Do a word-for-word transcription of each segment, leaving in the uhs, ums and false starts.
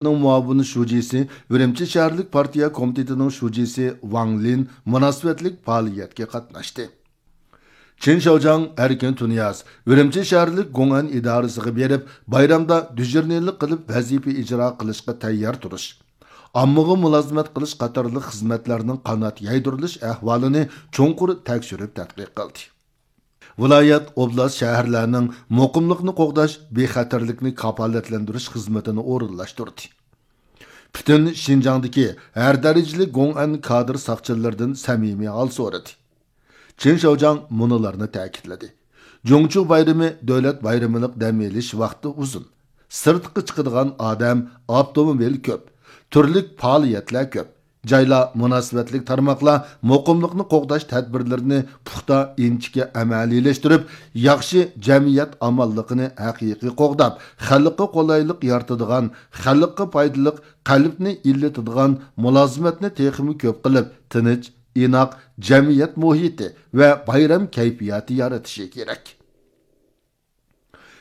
مۇئاۋىن شۇجىسى، ئۈرۈمچى شەھەرلىك پارتىيە كومىتېتىنىڭ شۇجىسى ۋاڭ لىن مۇناسىۋەتلىك پائالىيەتكە قاتناشتى. چېن شياۋجياڭ، ئەركىن تۇنىياز ئۈرۈمچى شەھەرلىك گوڭئەن ئىدارىسىغا بېرىپ، بايرامدا دىژورنىلىق قىلىپ ۋەزىپە ئىجرا قىلىشقا تەييار تۇرۇش، ئاممىغا مۇلازىمەت قىلىش قاتارلىق خىزمەتلەرنىڭ قانات يايدۇرۇلۇش ئەھۋالىنى چوڭقۇر تەكشۈرۈپ تەتقىق قىلدى. ۋىلايەت، ئوبلاست، شەھەرلەرنىڭ مۇقىملىقنى قوغداش، بىخەتەرلىكنى كاپالەتلەندۈرۈش خىزمىتىنى ئورۇنلاشتۇردى. پۈتۈن شىنجاڭدىكى ھەر دەرىجىلىك گوڭئەن كادىر ساقچىلىرىدىن سەمىمىي ھال سورىدى. چېن شياۋجياڭ مۇنۇلارنى تەكىتلىدى: جۇڭچۇ بايرىمى دۆلەت بايرىمىلىق دەم ئېلىش ۋاقتى ئۇزۇن، سىرتقا چىقىدىغان ئادەم، ئاپتوموبىل كۆپ، تۈرلۈك پائالىيەتلەر كۆپ. جايلار، مۇناسىۋەتلىك تارماقلار مۇقىملىقنى قوغداش تەدبىرلىرىنى پۇختا، ئىنچىكە ئەمەلىيلەشتۈرۈپ، ياخشى جەمئىيەت ئامانلىقىنى ھەقىقىي قوغداپ، خەلققە قولايلىق يارىتىدىغان، خەلققە پايدىلىق، قەلبنى ئىللىتىدىغان مۇلازىمەتنى تېخىمۇ كۆپ قىلىپ، تىنچ، ئىناق جەمئىيەت مۇھىتى ۋە بايرام كەيپىياتى يارىتىشى كېرەك.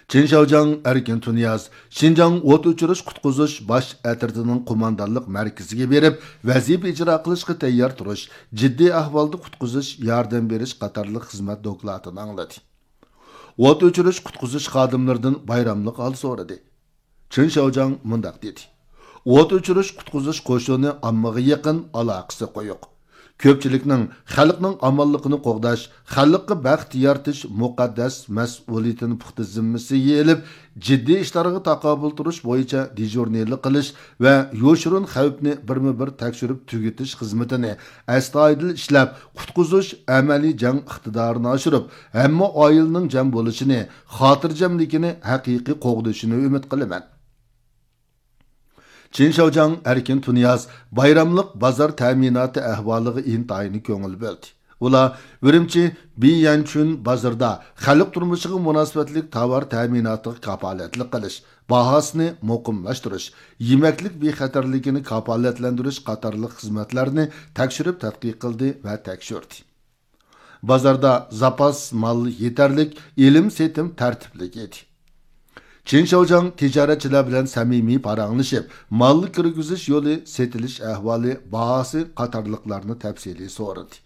چېن شياۋجياڭ، ئەركىن تۇنىياز شىنجاڭ ئوت ئۆچۈرۈش قۇتقۇزۇش باش ئەترىتىنىڭ قوماندانلىق مەركىزىگە بېرىپ، ۋەزىپە ئىجرا قىلىشقا تەييار تۇرۇش، جىددىي ئەھۋالدا قۇتقۇزۇش ياردەم بېرىش قاتارلىق خىزمەت دوكلاتىنى ئاڭلىدى. ئوت ئۆچۈرۈش قۇتقۇزۇش خادىملىرىدىن بايراملىق ھال سورىدى. چېن شياۋجياڭ مۇنداق دېدى: ئوت ئۆچۈرۈش قۇتقۇزۇش قوشۇنى ئاممىغا يېقىن، ئالاقىسى قويۇق. كۆپچىلىكنىڭ خەلقنىڭ ئامانلىقىنى قوغداش، خەلققە بەخت يارىتىش مۇقەددەس مەسئۇلىيىتىنى پۇختا زىممىسىگە ئېلىپ، جىددىي ئىشلارغا تاقابىل تۇرۇش بويىچە دىژورنىلىق قىلىش ۋە يوشۇرۇن خەۋپنى بىرمۇ بىر تەكشۈرۈپ تۈگىتىش خىزمىتىنى ئەستايىدىل ئىشلەپ، قۇتقۇزۇش ئەمەلىي جەڭ ئىقتىدارىنى ئاشۇرۇپ، ھەممە ئائىلىنىڭ جەم بولۇشىنى، خاتىرجەملىكىنى ھەقىقىي قوغدىشىنى ئۈمىد قىلىمەن. چېن شياۋجياڭ، ئەركىن تۇنىياز بايراملىق بازار تەمىناتى ئەھۋالىغا ئىنتايىن كۆڭۈل بۆلدى. ئۇلار ئۈرۈمچى بىيەنچۈن بازىرىدا خەلق تۇرمۇشىغا مۇناسىۋەتلىك تاۋار تەمىناتىغا كاپالەتلىك قىلىش، باھاسىنى مۇقىملاشتۇرۇش، يېمەكلىك بىخەتەرلىكىنى كاپالەتلەندۈرۈش قاتارلىق خىزمەتلەرنى تەكشۈرۈپ تەتقىق قىلدى ۋە تەكشۈردى. بازاردا زاپاس مال يېتەرلىك، ئېلىم-سېتىم تەرتىپلىك ئىدى. چېن شياۋجياڭ تىجارەتچىلەر بىلەن سەمىمىي پاراڭلىشىپ، مال كىرگۈزۈش يولى، سېتىلىش ئەھۋالى، باھاسى قاتارلىقلارنى تەپسىلىي سورىدى.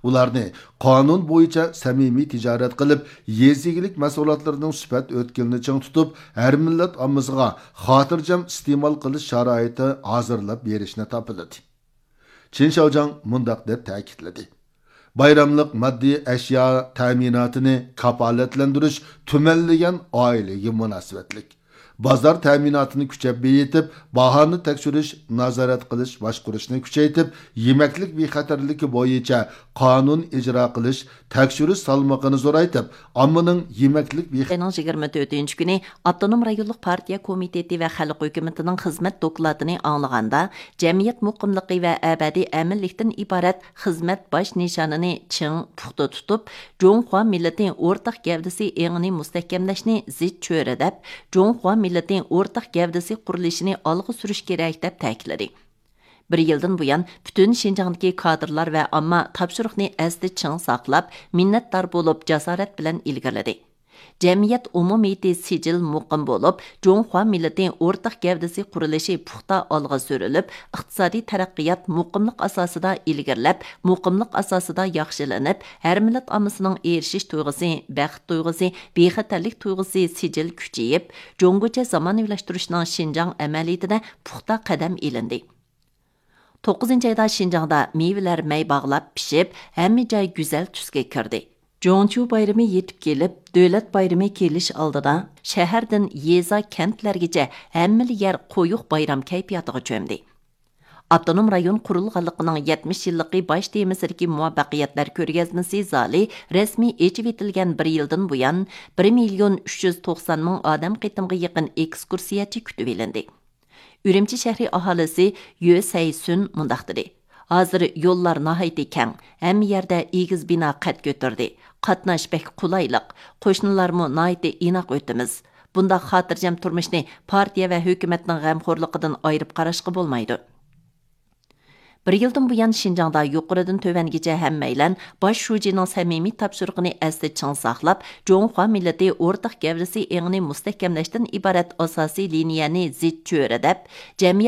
ئۇلارنى قانۇن بويىچە سەمىمىي تىجارەت قىلىپ، يېزا ئىگىلىك مەھسۇلاتلىرىنىڭ سۈپەت ئۆتكىلىنى چىڭ تۇتۇپ، ھەر مىللەت ئاممىسىغا خاتىرجەم ئىستېمال قىلىش شارائىتى ھازىرلاپ بېرىشنى تاپىلىدى. چېن شياۋجياڭ مۇنداق دەپ تەكىتلىدى: بايراملىق ماددىي ئەشيا تەمىناتىنى كاپالەتلەندۈرۈش تۈمەنلىگەن ئائىلىگە مۇناسىۋەتلىك. بازار تەمىناتىنى كۈچەپ بېيىتىپ، باھانى تەكشۈرۈش، نازارەت قىلىش، باشقۇرۇشنى كۈچەيتىپ، يېمەكلىك بىخەتەرلىكى بويىچە قانۇن ئىجرا قىلىش، تەكشۈرۈش سالمىقىنى زورايتىپ، ئاممىنىڭ يېمەكلىك بىخ- ئاينىڭ يىگىرمە تۆتىنچى كۈنى ئاپتونوم رايونلۇق پارتىيە كومىتېتى ۋە خەلق ھۆكۈمىتىنىڭ خىزمەت دوكلاتىنى ئاڭلىغاندا، جەمئىيەت مۇقىملىقى ۋە ئەبەدىي ئەمىنلىكتىن ئىبارەت خىزمەت باش نىشانىنى چىڭ، پۇختا تۇتۇپ، جۇڭخۇا مىللىتى ئورتاق گەۋدىسى ئېڭىنى مۇستەھكەملەشنى زىچ چۆرىدەپ، جۇڭخۇا مىللىتى ئورتاق گەۋدىسى قۇرۇلۇشىنى ئالغا سۈرۈش كېرەك، دەپ تەكىتلىدى. بىر يىلدىن بۇيان، پۈتۈن شىنجاڭدىكى كادىرلار ۋە ئامما تاپشۇرۇقنى ئەستە چىڭ ساقلاپ، مىننەتدار بولۇپ، جاسارەت بىلەن ئىلگىرىلىدى. جەمئىيەت ئومۇمىيىتى سىجىل مۇقىم بولۇپ، جۇڭخۇا مىللىتى ئورتاق گەۋدىسى قۇرۇلۇشى پۇختا ئالغا سۈرۈلۈپ، ئىقتىسادىي تەرەققىيات مۇقىملىق ئاساسىدا ئىلگىرىلەپ، مۇقىملىق ئاساسىدا ياخشىلىنىپ، ھەر مىللەت ئاممىسىنىڭ ئېرىشىش تۇيغۇسى، بەخت تۇيغۇسى، بىخەتەرلىك تۇيغۇسى سىجىل كۈچىيىپ، جۇڭگوچە زامانىۋىلاشتۇرۇشنىڭ شىنجاڭ ئەمەلىيىتىدە پۇختا قەدەم ئېلىندى. توققۇزىنچى ئايدا شىنجاڭدا مېۋىلەر مەي باغلاپ پىشىپ، ھەممە جاي گۈزەل تۈسكە كىردى. جۇڭچۇ بايرىمى يېتىپ كېلىپ، دۆلەت بايرىمى كېلىش ئالدىدا، شەھەردىن يېزا، كەنتلەرگىچە ھەممىلا يەر قويۇق بايرام كەيپىياتىغا چۆمدى. ئاپتونوم رايون قۇرۇلغانلىقىنىڭ يەتمىش يىللىقى باش تېمىسىدىكى مۇۋەپپەقىيەتلەر كۆرگەزمىسى زالى رەسمىي ئېچىۋېتىلگەن بىر يىلدىن بۇيان، بىر مىليون ئۈچ يۈز توقسان مىڭ ئادەم قېتىمغا يېقىن ئېكسكۇرسىيەچى كۈتۈۋېلىندى. ئۈرۈمچى شەھىرى ئاھالىسى يۆ سەيسۈن مۇنداق دېدى: ھازىر يوللار ناھايىتى كەڭ، ھەممە يەردە ئېگىز بىنا قەد كۆتۈردى، قاتناش بەك قولايلىق، قوشنىلارمۇ ناھايىتى ئىناق ئۆتىمىز. بۇنداق خاتىرجەم تۇرمۇشنى پارتىيە ۋە ھۆكۈمەتنىڭ غەمخورلۇقىدىن ئايرىپ قاراشقا بولمايدۇ. بىر يىلدىن بۇيان شىنجاڭدا يۇقىرىدىن تۆۋەنگىچە ھەممەيلەن باش شۇجىنىڭ سەمىمىي تاپشۇرۇقىنى ئەستە چىڭ ساقلاپ، جۇڭخۇا مىللىتى ئورتاق گەۋدىسى ئېڭىنى مۇستەھكەملەشتىن ئىبارەت ئاساسىي لىنىيەنى زىچ چۆرىدەپ، جەمئىيەت